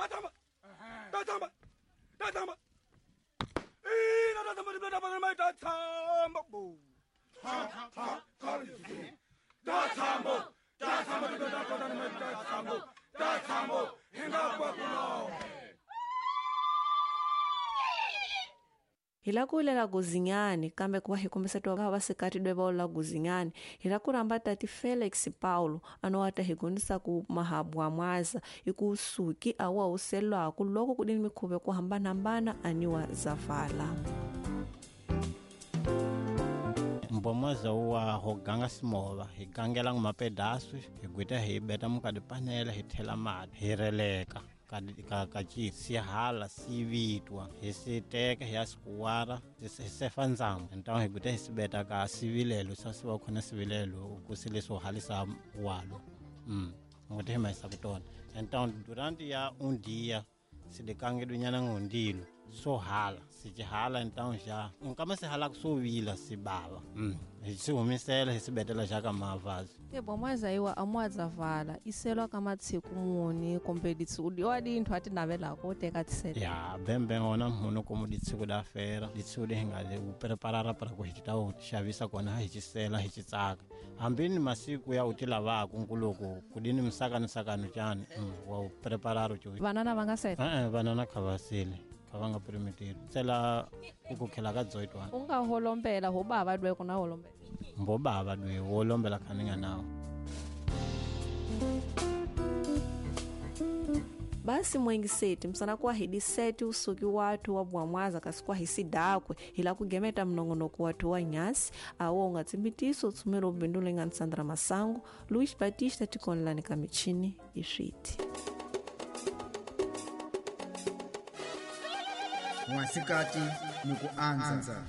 Ta tshamba. Ta tshamba. Ta tshamba. Ina ta tshamba ta tshamba ta tshamba. Bo. Ta ta ta ta tshamba. Ta tshamba ta ta ta tshamba. Ta tshamba. Hinga kwa kuno. Hi la ku lela guzinyani kambe ku va hi kombisetiwa ka vasikati dwe va la guzinyani hi la ku rhamba tati Felix Paulo ano wa ta hi gondisa ku mahabwa mwaza i ku suki a wa huselwaku loko ku dini mikhuva ku hambanahambana aniwa zavala. Mbomwaza wa ho ganga simova hi gangela mapedasu hi gwita hi beta mukadipanela hi thela mati hi releka ka sihala sivitwa hi siteka hi ya sikuwara hi sefa ndzambu ntawo hi gwita hi sibeta ka sivilelo sa siva khona sivilelo ku sileso halisa walo ngoti hi maisa kutona ntawo durante ya un dia sidikangedunyana ngondilo so hala sichihala ntawo xa nkama sihala kusovila sibava hi sihumisela hi sibetela xa ka mavazi ke bomwaza iwa amwadzavala iselwa ka matsiku muni kumbe ditsudi wa dinthu ati navelako u teka tisela ya bembe ona mhuno komo ditsiku da fera ditsudi hi nga u preparara para ku hi ta u xavisa kona hi xisela hi xitsaka hambi ni masiku ya u ti lavaka nkuluku kudini misakani sakani tjani wa u preparara u vanana va nga sela vanana kha va sele kha va nga permitiri tsela ku kukhela ka dzoitwa u nga holombela ho bava dwe kuna holombela mbo bava dwe wo lombela khaninga nawo. Basi mwengiseti msana kwa hidiseti usuki watu wa bwamwaza kasi kwa hisidakwe ila kugemeta mnongonoko watu wa nyasi awo ungatsimbitiso tsumelo ubindule nga Sandra Masango Luis Batista tikonlani kamichini iswiti. Mwasikati ni kuanza.